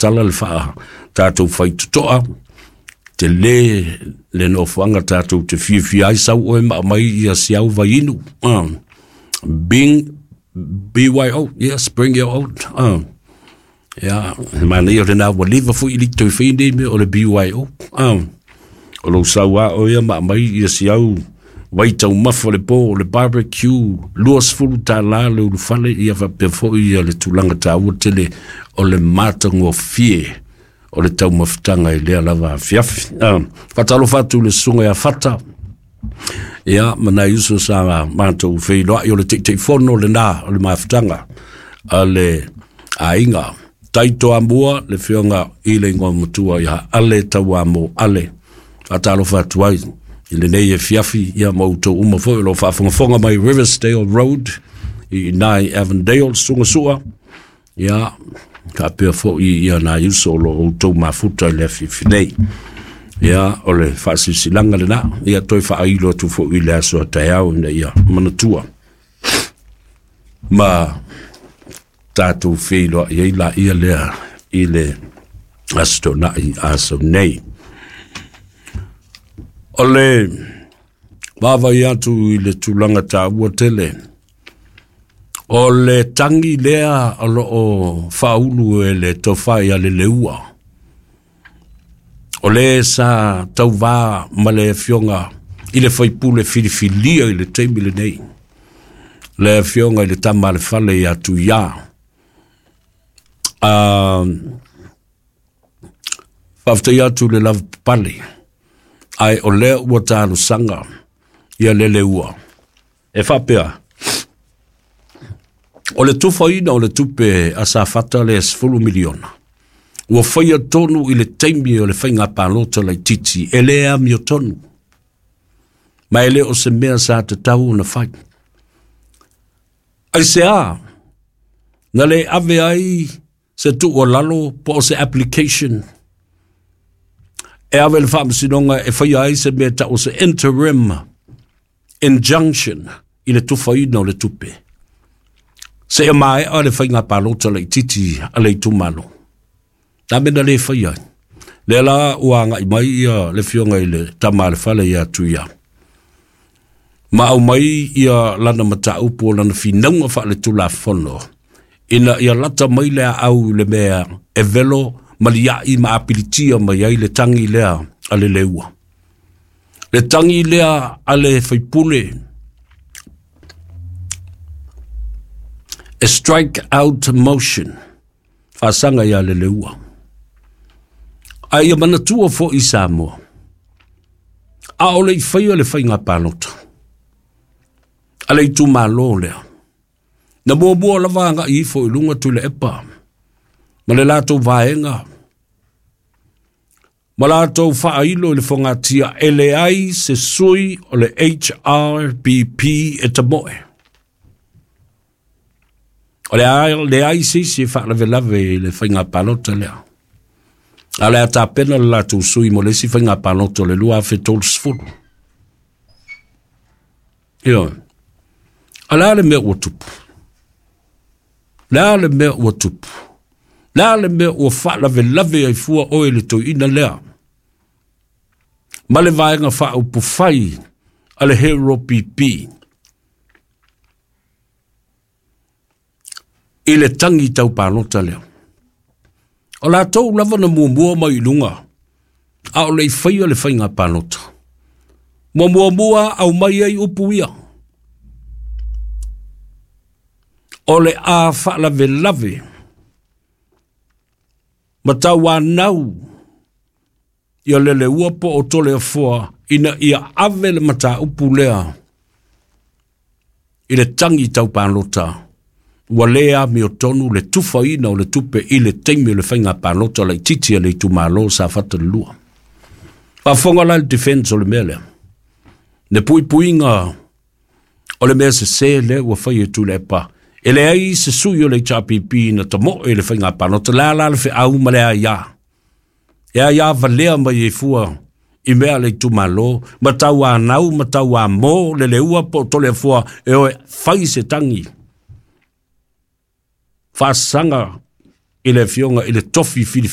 tatala le faa tātou whaitotoa, te le le nofoaga tatou te fiafia ai sau oe ma aumai ia si au vaiinu. Bing BYO, yes, bring your own. Ia, e manaia lena ua leva foi i le toe fai nei mea o le BYO. O lou sau a oe ma aumai ia si au vai taumafa o le po o le barbecue, $20 le ulufale, ia faapea foi ia le tulaga taua tele o le matagofie o le taumafataga i lea lava afiafi. Faatalofa atu i le susuga ia Fata, ia ma nai uso sa matou feiloai o le Taitaifono lena o le mafutaga a le aiga. Taitoamua le afioga i le igoa matua ia Ale Tauamo Ale. Faatalofa atu ai i lenei afiafi ia ma outou uma foi o lo o faafogafoga mai Riversdale Road i ina i Avondale, Susuga Sua. Ia, faapea foi ia nai uso o lo o outou mafuta i le afiafi nei. Ia, o le faasilasilaga lena, ia toe faailo atu foi i le aso a taeao ina ia manatua. Ma tatou feiloai ai laia lea i le Aso Toonai aso nei. O le vaavaai atu i le tulaga taua tele, o le tagi lea o lo o faaulu e le tofa ia Leleua, o le sa tauvā ma le afioga i le faipule filifilia i le taimi lenei, le afioga i le tama a le fale ia Tuia. Faafetai atu i le lavapapale, ae o lea ua talosaga ia Leleua. E faapea, o le tufaina o le tupe a Safata le $10 miliona, ua faia tonu i le taimi o le faiga palota laitiiti, e le amiotonu, ma e le o se mea sa tatau ona fai. Aisea, na le ave ai se tuualalo po o se application e ave le faamasinoga e faia ai se mea tau o se interim injunction i le tufaina o le tupe, seia maea le faiga palota laitiiti a le itumalo. Na mea na le faia ai. Lea la ua agai mai ia le afioga i le tama a le fale ia Tuia, ma aumai ia lana mataupu o lana finauga faaletulafono ina ia lata mai le aau i le mea e velo maliai ma apilitia mai ai le tagi lea a le leua. Le tagi lea a le faipule e strike out motion faasaga ia Leleua. A ia manatua foi Samoa, a o le i faia le faiga palota a le itumalo lea, na muamua lava agai ifo i luga Tuilaepa ma le latou vaega ma latou faailo i le fogatia e leai se sui o le HRPP e tamoe. O le a leai se isi e faalavelave i le faiga palota lea. A o le a tapena le latou sui mo le isi faiga palota o le 2030. Ioe. A le a le mea ua tupu? Le a le mea ua tupu? Le a le mea ua faalavelave ai fua oe i le toeaina lea? Ma le vaega faaupufai a le Hero PP i le tagi tau palota lea. O latou lava na muamua mai i luga, a o le i faia le faiga palota. Muamua aumai ai upu ia. O le a faalavelave ma tauanau ia Leleua po o Toleafoa ina ia ave le mataupu lea i le tagi tau palota, ua le amiotonu le tufaina o le tupe i le taimi o le faiga palota laitiiti a le itumalo Safata 2. Faafofoga la le defense o le mea lea. Le puipuiga o le mea sese lea ua fai e Tuilaepa, e leai se sui o le HRPP na tamoe i le faiga palota, le a la le feau ma le aia. E aia valea mai ai fua i mea a le itumalo, ma tauanau, ma tauamo, Leleua po o Toleafoa, e oe fai se tagi faasaga i le afioga i le tofi filifilia.